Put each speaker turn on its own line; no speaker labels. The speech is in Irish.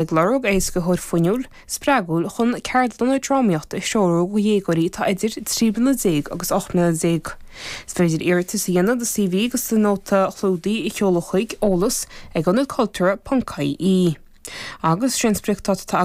Ag lorg éascaitheoir fuinniúil, spreagúil chun ceardlanna drámaíochta a threorú do dhéagóirí atá idir 13 bliana agus 18 mbliana. Is féidir iarratas a dhéanamh, do CV agus do nóta clúdaigh a sheoladh chuig, eolas ag ionadcultúrtha.ie. Agus sé an spriocdháta atá.